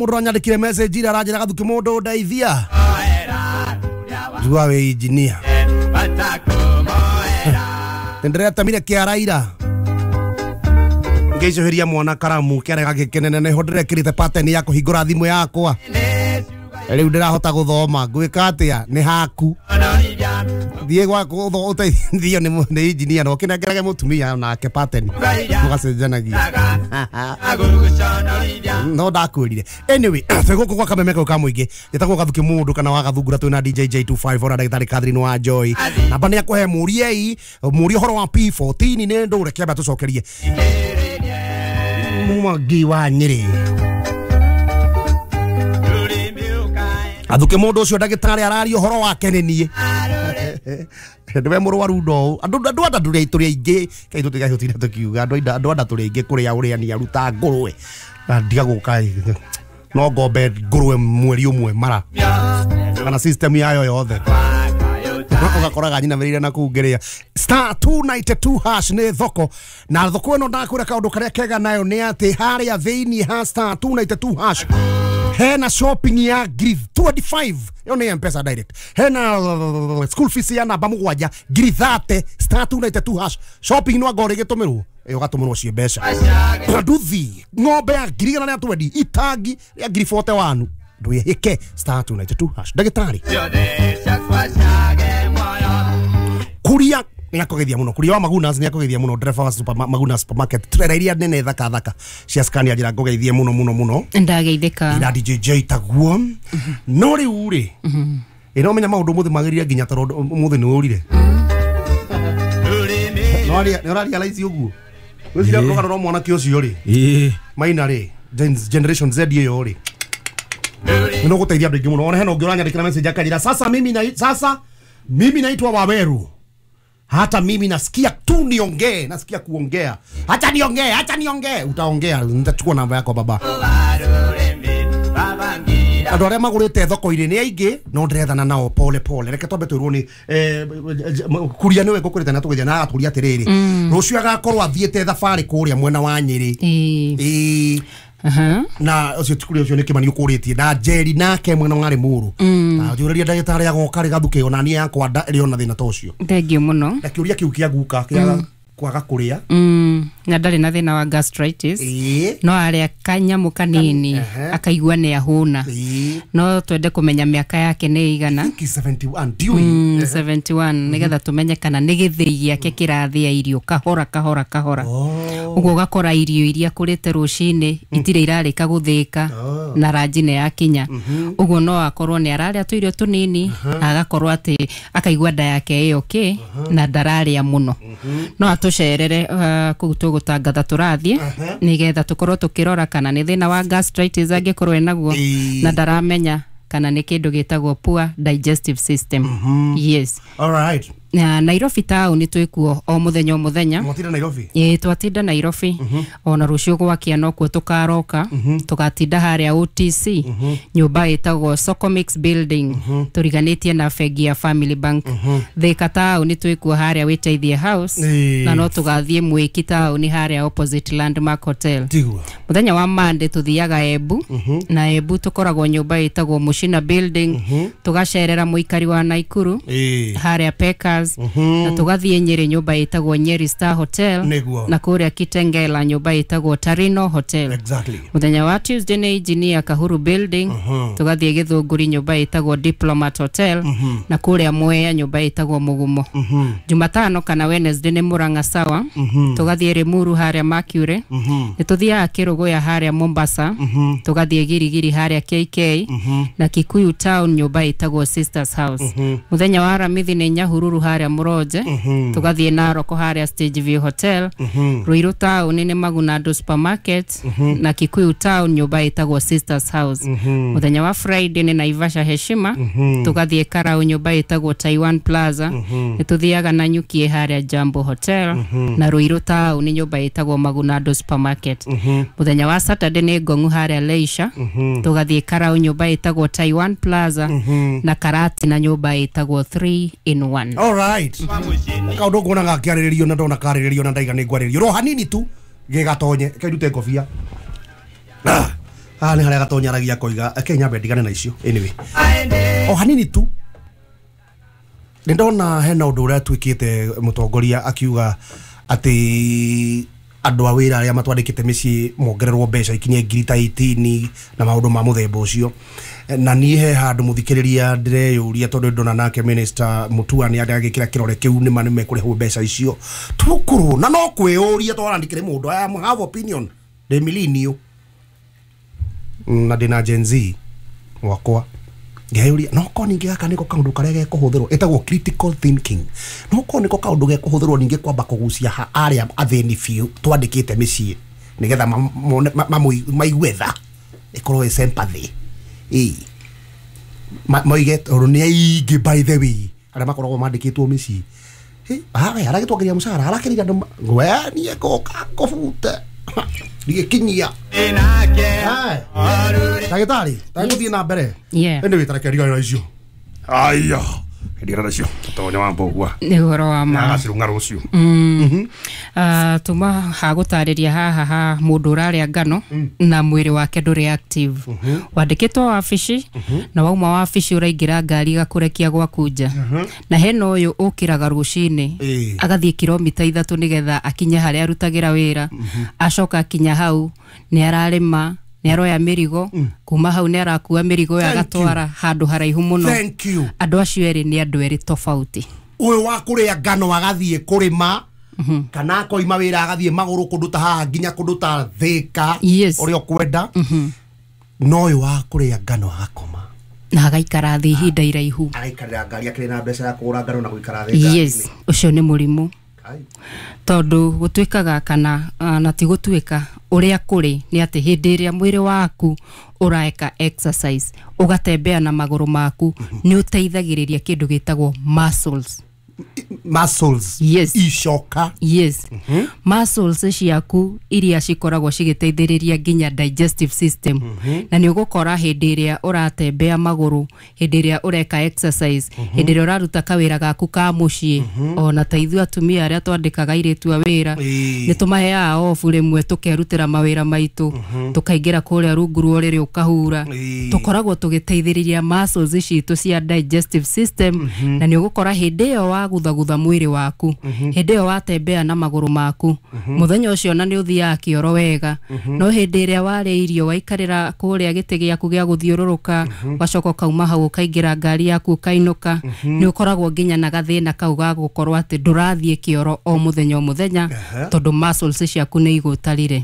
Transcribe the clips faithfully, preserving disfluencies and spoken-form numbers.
Mundu anyandikire message ira aranjira gathuki mundu ndeithia. Jua we engineer. Ndĩretamire kĩara ira. Ngĩicũhĩria mwana karamu kĩara gagĩkenene nĩho ndĩrekĩrĩte pattern ya kũhingũra thimũ yakwa. Rĩu ndĩrahota gũthoma ngwĩka atĩa nĩ haku. Thiĩ gwaku ũteithio nĩ engineer na ũkĩnengerage mũtumia nake pattern mũgacenjanagia. No ndakwĩrire. Anyway, twĩ gũkũ gwa Kameme kau ka mũingĩ njĩtagwo Gathuki Mũndũ kana wa Gathungura twĩ na D J J two five four na ndagĩtarĩ Catherine wa Joy. Namba nĩ akũhe mũriei mũrie ũhoro wa P fourteen nĩ ndũre kĩamba tũcokerie. Mwangi wa Nyĩrĩ. Athuke mundu ucio ndagitari araria uhoro wake ni nie ndiwe murwaru ndo andu andu anda turi turi aingi kai tutigahutina tukiuga andu andu anda turi aingi kuria uria ni aruta ngurwe na ndiga guka no ngombe ngurwe mweri umwe mara kana system yayo yothe ugakoraga nyina mirire na kuu ngiria star two ninety two hash ni thoko na thoko ino ndakwira kaundu karia kega nayo ni ati haria thiini ha star two ninety two hash hena shopping ya ngiri twenty-five yo ni M-Pesa direct hena school fees ya namba mugwanja ngiri thirty star two ninety two hash shopping no ngore gitumirwo iyo gatumirwo cie mbeca nduthi ng'ombe ya ngiri igana rĩa twenty itangi ya ngiri forty-one ndwihike star two ninety two hash ndagitari kuria ni akogethia muno kuria wa Magunas ni akogethia muno driver wa super Maguna supermarket trailer iria nene thaka thaka cia Scania njira ngogeithie muno muno muno ndageithika ira D J J taguo no riu ri ino menya maundu muthi magirire nginya toro muthi ni urire no aria no aria realize uguo wicira kuroga ro mwanake ucio ri eh maina ri generation Z iyo ri no guteithia andu aingi muno ona hena ungi uranyandikira message akajira sasa mimi na sasa mimi naitwa Waweru. Hata mimi nasikia tu niongee, nasikia kuongea. Hata niongee, hata niongee. Utaongea, nitachukua namba yako baba. Andũ arĩa magũrĩte thoko-inĩ nĩ aingĩ no ndĩrethana nao pole pole. Reke twambe twĩrwo nĩ eh, kuria nĩwe ngũkũrĩte na tũgĩthiĩ na agatũria atĩrĩrĩ. Rũciũ agakorwo athiĩte thabarĩ kũrĩa mwena wa Nyĩrĩ. Ĩĩ. Aha. Na ucio tikuri ucio ni kimani ukuritie na Jerry nake mwena wa Limuru na njuriria ndagitari agoka ri gathuke ona ni yakwa nda ri ona thina ta ucio Thengio muno na kiuria kiu kia guka kia kwaga kuria mm na ndari na thina wa gastritis no aria kanyamu kanini akaigua ni ahuna no twende kumenya miaka yake ni igana seventy-one ndiui mm, seventy-one nigetha tumenye kana ni githii giake kirathia irio kahora kahora kahora uguo ugakora irio iria kurite rucini itire irarika guthika na ranji ni yakinya uguo no akorwo ni araria tuirio tunini agakorwo ati akaigua nda yake ĩ okay na ndararia muno no atucerere uh, kuu tugutangatha turathie nigetha tukorwo tukirora kana ni thina wa gastritis angikorwo enaguo na ndaramenya kana ni kindu gitagwo poor digestive system. Mm -hmm. Yes. All right. Na Nairobi town twikuo o muthenya o muthenya. Mwatinda Nairobi? Ĩ twatinda Nairobi. Mm -hmm. Ona rucio gwakia no kuo tukaroka. Mm -hmm. Tugatinda haria O T C. Mm -hmm. Nyumba ĩtagwo Socomix building. Mm -hmm. Turiganĩtie na bengi ya Family Bank. Mm -hmm. Thika town twikuo haria Wĩteithie House. Eee. Na no tugathiĩ Mwĩki town haria opposite Landmark Hotel. Tiguo. Muthenya wa Monday tuthiaga Embu. Mm -hmm. Na Embu tukoragwo nyumba ĩtagwo Mushina building. Mm -hmm. Tugacerera muikari wa Naikuru. Eee. Haria Peka. Mm -hmm. Na tugathie Nyeri nyumba ĩtagwo Nyeri Star Hotel. Niguo. Na kuria Kitengela nyumba ĩtagwo Tarino Hotel. Exactly. Muthenya wa Tuesday nĩ Engineer Kahuru building. Mm -hmm. Tugathie Githunguri nyumba ĩtagwo Diplomat Hotel. Mm -hmm. Na kuria Mwea nyumba ĩtagwo Mugumo. Mm -hmm. Jumatano kana Wednesday nĩ Murang'a Sawa. Mm -hmm. Tugathie Limuru haria Mercury. Mm -hmm. Nĩ tuthiaga Kiruguya haria Mombasa. Mm -hmm. Tugathie Girigiri haria K K. Mm -hmm. Na Kikuyu town nyumba ĩtagwo Sisters House. Mm -hmm. Muthenya wa Aramithi nĩ Nyahururu haria Muronje. Mm -hmm. Tugathie Narok haria Stage View Hotel. Mm -hmm. Ruiru town nĩ Magunado Supermarket. Mm -hmm. Na Kikuyu town nyumba ĩtagwo Sisters House. Mm -hmm. Muthenya wa Friday nĩ Naivasha Heshima. Mm -hmm. Tugathie Karau nyumba ĩtagwo Taiwan Plaza. Mm -hmm. Nĩ tuthiaga Nanyuki haria Jambo Hotel. Mm -hmm. Na Ruiru town nĩ nyumba ĩtagwo Magunado Supermarket. Mm -hmm. Muthenya wa Saturday nĩ Ngong'u haria Leisure. Mm -hmm. Tugathie Karau nyumba ĩtagwo Taiwan Plaza. Mm -hmm. Na Karati na nyumba ĩtagwo three in one. All right. Kaundu nguona gakiarĩrĩrio na ndona karĩrĩrio na ndaiga nĩ ngwarĩrĩrio ro hanini tu gĩgatonye kairute ngobia. Haha nĩ harĩa gatonyaragia koiga eke nyambe ndigane na icio. Anyway, o hanini tu nĩ ndona hena ũndũ ũrĩa twĩkĩte mũtongoria akiuga atĩ andũ a wĩra arĩa matwandĩkĩte mĩciĩ mongererwo mbeca ikinye ngiri ta eighteen na maũndũ ma mũthemba ũcio. Na niĩ he handũ mũthikĩrĩria ndĩreyũria tondũ ndona nake minister Mutua nĩ agĩkĩra kĩrore kĩu nĩ ma nĩ mekũrĩhwo mbeca icio tũkũrwo na no kwĩyũria twarandĩkĩre mũndũ. I am have opinion ndĩ millennial na ndĩna Gen Z wakwa ngeyũria no korwo ningĩ gaka nĩko kaũndũ karĩa gekũhũthĩrwo ĩtagwo critical thinking, no korwo nĩko kaũndũ gekũhũthĩrwo ningĩ kwamba kũgucia ha arĩa athĩni biũ twandĩkĩte mĩciĩ nĩgetha maigue tha ĩkorwo ĩ sympathy ĩ moige tondũ nĩ aingĩ by the way arĩa makoragwo mandĩkĩtwo mĩciĩ hawe aragĩtwongeria mũcara arakĩrire andũ we niĩ ngũka ngũbute ndigĩkinyia. Ndagĩtarĩ tagũthiĩ na mbere. Anyway, tareke ndigane na icio. Aya, ndigane na icio tonya wa mbogua nĩ ũhoro wa ma agacirũng'a rũciũ. Tuma hagũtarĩria haha ha mũndũ ũrarĩa ngano na mwĩrĩ wake ndũrĩ active. Wandĩkĩtwo wabici na wauma wabici ũraingĩra ngari ĩgakũrekia gwaku nja. Na hena ũyũ ũkĩraga rũcinĩ agathiĩ kilomita ithatũ nĩgetha akinye harĩa arutagĩra wĩra, acoka akinya hau nĩ ararĩma nĩ aroya mĩrigo kuma hau nĩ arakua mĩrigo ĩyo agatwara handũ haraihu mũno. Thank you. Andũ acio erĩ nĩ andũ erĩ tofauti. Ũyũ wa kũrĩa ngano agathiĩ kũrĩma kana akoima wĩra agathiĩ magũrũ kũndũ ta haha nginya kũndũ ta Thĩka ũrĩa ũkwenda, no ũyũ wa kũrĩa ngano agakoma na agaikara thĩ ihinda iraihu, agaikarĩra ngari akĩrĩ na mbeca ya kũgũra ngano na gũikara thĩ. Yes, ũcio nĩ mũrimũ tondũ gũtuĩkaga kana na ti gũtuĩka ũrĩa kũrĩ nĩ atĩ hĩndĩ ĩrĩa mwĩrĩ waku ũraeka exercise ũgatembea na magũrũ maku nĩ ũteithagĩrĩria kĩndũ gĩtagwo muscles. Muscles. Yes. Icoka. Yes. Mm -hmm. Muscles ciaku iria cikoragwo cigĩteithĩrĩria nginya digestive system. Mm -hmm. Na nĩ ũgũkora hĩndĩ ĩrĩa ũratembea magũrũ, hĩndĩ ĩrĩa ũreka exercise, mm -hmm. hĩndĩ ĩrĩa ũraruta kawĩra gaku ka mũciĩ, mm -hmm. ona ta ithuĩ atumia arĩa twandĩkaga airĩtu a wĩra, nĩ tũmaheaga off rĩmwe tũkerutĩra mawĩra maitũ, mm -hmm. tũkaingĩra kũrĩa rungu rwa ũrĩrĩ ũkahura, tũkoragwo tũgĩteithĩrĩria muscles citũ cia digestive system, mm -hmm. na nĩ ũgũkora hĩndĩ ĩyo wagutha gutha mwĩrĩ waku, hĩndĩ ĩyo watembea na magũrũ maku, mũthenya ũcio na nĩ ũthiaga kĩoro wega. No hĩndĩ ĩrĩa warĩa irio waikarĩra kũrĩa gĩtĩ gĩaku gĩa gũthiũrũrũka, ũgacoka ũkauma hau ũkaingĩra ngari yaku ũkainũka, nĩ ũkoragwo nginya na gathĩna kau ga gũkorwo atĩ ndũrathiĩ kĩoro o mũthenya o mũthenya tondũ muscles ciaku nĩ igũtarire.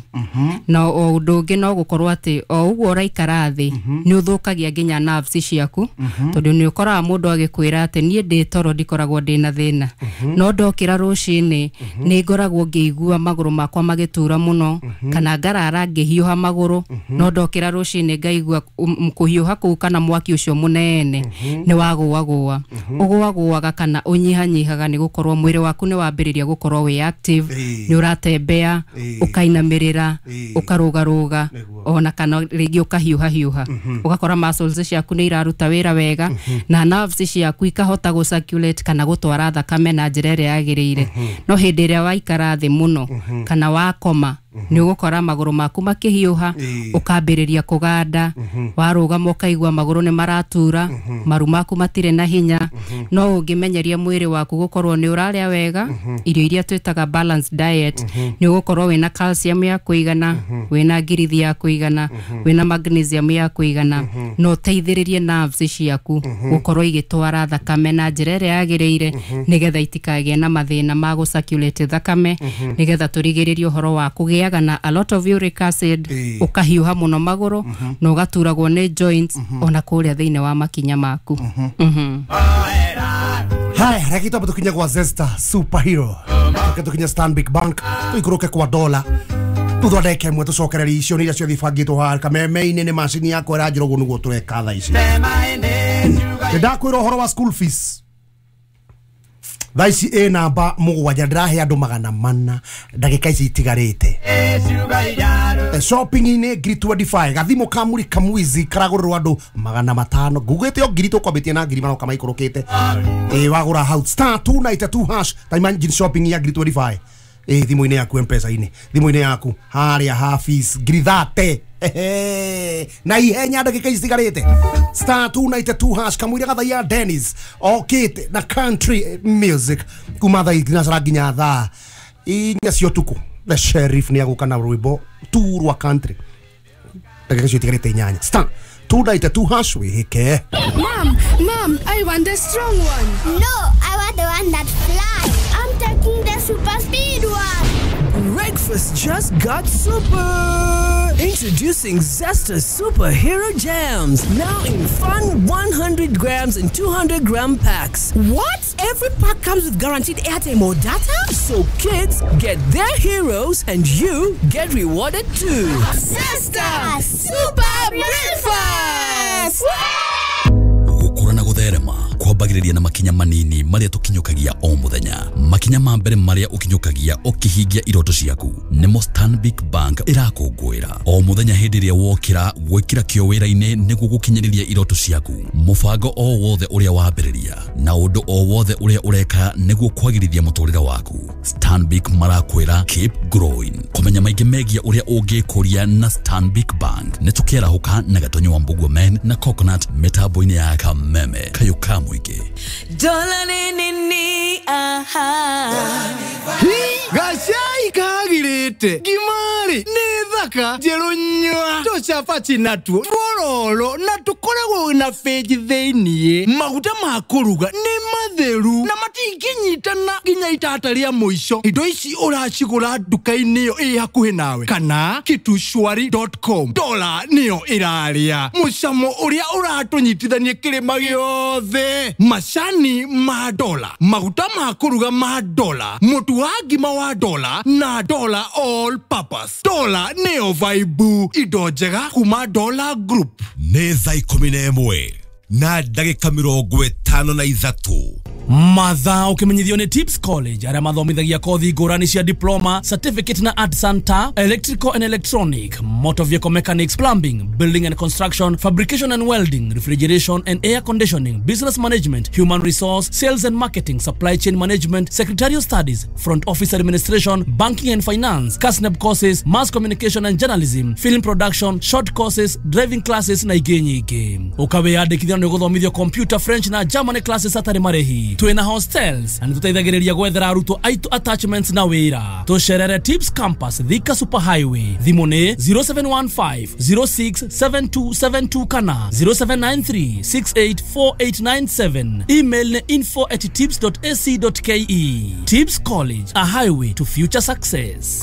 Na o ũndũ ũngĩ no gũkorwo atĩ o ũguo ũraikara thĩ nĩ ũthũkagia nginya nerves ciaku, tondũ nĩ ũkoraga mũndũ agĩkwĩra atĩ niĩ ndĩ toro ndikoragwo ndĩna thĩna, no ndokĩra rũcinĩ nĩ ngoragwo ngĩigua magũrũ makwa magĩtura mũno, kana ngarara ngĩhiũha magũrũ, no ndokĩra rũcinĩ ngaigua kũhiũha kũu kana mwaki ũcio mũnene nĩ wagũagũa. Ũgũagũaga kana ũnyihanyihaga nĩ gũkorwo mwĩrĩ waku nĩ wambĩrĩria gũkorwo wĩ active, nĩ ũratembea, ũkainamĩrĩra, ũkarũgarũga, ona kana rĩngĩ ũkahiũhahiũha, ũgakora muscles ciaku nĩ iraruta wĩra wega na nerves ciaku ikahota gũ circulate kana gũtwara thakame na njĩra ĩrĩa yagĩrĩire. No hĩndĩ ĩrĩa waikara thĩ mũno kana wakoma nĩ ũgũkora magũrũ maku makĩhiũha, ũkambĩrĩria kũganda, warũgama ũkaigua magũrũ nĩ maratura, maru maku matirĩ na hinya. No ũngĩmenyeria mwĩrĩ waku gũkorwo nĩ ũrarĩa wega irio iria twĩtaga balanced diet, nĩ ũgũkorwo wĩna calcium ya kũigana, wĩna ngirithi ya kũigana, wĩna magnesium ya kũigana, na ũteithĩrĩrie nerves ciaku gũkorwo igĩtwara thakame na njĩra ĩrĩa yagĩrĩire nĩgetha itikagĩe na mathĩna ma gũ circulate thakame, nĩgetha tũrigĩrĩrie ũhoro wa kũgĩa na a lot of uric acid, ũkahiũha mũno magũrũ na ũgaturagwo nĩ joints ona kũrĩa thĩinĩ wa makinya maku. Haya, reke twambe tũkinye gwa Zesta Superhero, reke tũkinye Stanbic Bank, tũikũrũke kwa dola, thutha wa ndagĩka ĩmwe tũcokererie icio nĩ iria ciothe ibangĩtwo haha kameme-inĩ nĩ macini yakwa ĩranjĩra ũguo nĩguo tũreka thaa ici. Nĩ ndakwĩra ũhoro wa school fees thaa ici ĩ namba mũgwanja, ndĩrahe andũ magana mana ndagĩka ici itigarĩte. Shopping-inĩ ngiri twenty-five, gathimũ ka muri kamwizi karagũrĩrwo andũ magana matano, ngugĩte o ngiri tũkwambĩtie na ngiri maroka maikũrũkĩte. Ĩ wagũra hau star two ninety two hash ta imagine shopping ya ngiri twenty-five Ĩ thimũ-inĩ yaku, M-Pesa-inĩ, thimũ-inĩ yaku harĩa ha fees ngiri thate. Ehe. Na ihenya, ndagĩka icigarĩte, star two nine two hash, kamũira gathaia Dennis okĩte na country music kuma thaa thinacara nginya thaa inya cia ũtukũ. The Sheriff nĩ agũka na rwĩmbo tu rwa country. Ndagĩka icio itigarĩte inyanya, star two nine two hash, wĩhĩke. Mom, Mom, I want the strong one. No, I want the one that flies. I'm taking the super speed one. Breakfast just got super! Introducing Zesta Superhero Jams, now in fun one hundred grams and two hundred gram packs. What? Every pack comes with guaranteed airtime or data? So kids get their heroes and you get rewarded too. Zesta Super Breakfast! Gũkũra na gũtherema kwambagĩrĩria na makinya manini marĩa tũkinyũkagia o mũthenya. Makinya ma mbere marĩa ũkinyũkagia ũkĩhingia iroto ciaku nĩmo Stanbic Bank ĩrakũngũĩra o mũthenya hĩndĩ ĩrĩa wokĩra gwĩkĩra kĩo wĩra-inĩ nĩguo gũkinyĩrĩria iroto ciaku. Mũbango o wothe ũrĩa wambĩrĩria na ũndũ o wothe ũrĩa ũreka nĩguo kwagĩrithia mũtũrĩre waku, Stanbic marakwĩra keep growing. Kũmenya maingĩ megiĩ ũrĩa ũngĩkũria na Stanbic Bank, nĩ tũkĩarahũka na Gatonyo wa Mbugua Men na Coconut mĩtambo-inĩ ya Kameme kayũ ka mũingĩ. Dola ni ni ni aha. Gacai kagirĩte ngimari nĩ thaka njerũ nyua tũcabaci natuo twororo na tũkoragwo na bĩnji thĩiniĩ. Maguta ma kũruga nĩ matheru na matingĩnyitana nginya itata rĩa mũico. Indo ici ũracigũra nduka-inĩ ĩyo ĩ hakuhĩ nawe kana kitushwari dot com. Dola nĩyo ĩrarĩa mũcamo ũrĩa ũratũnyitithania kĩrĩma gĩothe. Macani ma Dola, maguta ma kũruga ma Dola, mũtu wa ngima wa Dola na Dola all purpose. Dola nĩyo vaibu, indo njega kuma Dola Group. Nĩ thaa ikũmi na ĩmwe na ndagĩka mĩrongo ĩtano na ithatũ. Mathaa ũkĩmenyithio nĩ Tips College, arĩa mathomithagia kothi ngũrani cia diploma, certificate na artisan ta electrical and electronic, motor vehicle mechanics, plumbing, building and construction, fabrication and welding, refrigeration and air conditioning, business management, human resource, sales and marketing, supply chain management, secretarial studies, front office administration, banking and finance, KASNEB courses, mass communication and journalism, film production, short courses, driving classes na ingĩ nyingĩ. Ũkawĩyandĩkithia nĩ ũgũthomithio computer, French na German classes hatarĩ marĩhi. Twĩna hostels na nĩtũteithagĩrĩria gwethera arutwo aitũ attachments na wĩra. Tũcerere Tips Campus, Thika Super Highway. Thimũ nĩ zero seven one five zero six seven two seven two kana zero seven nine three six eight four eight nine seven. Email nĩ info at tips dot ac dot ke. Tips College, a highway to future success.